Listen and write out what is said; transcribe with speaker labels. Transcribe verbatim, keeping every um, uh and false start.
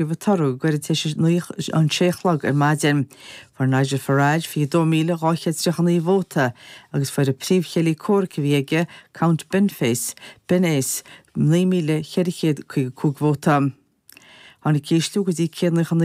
Speaker 1: Fógraíodh an toradh go gairid tar éis an sé a chlog ar maidin. Fuair Nigel Farage fiche dó míle dhá chéad tríocha naoi vóta agus fuair an príomhchéile comhraic a bhí aige, Count Binface, Binface, naoi míle ceithre chéad caoga cúig vóta. Tháinig ísliú go dtí céad nócha naoi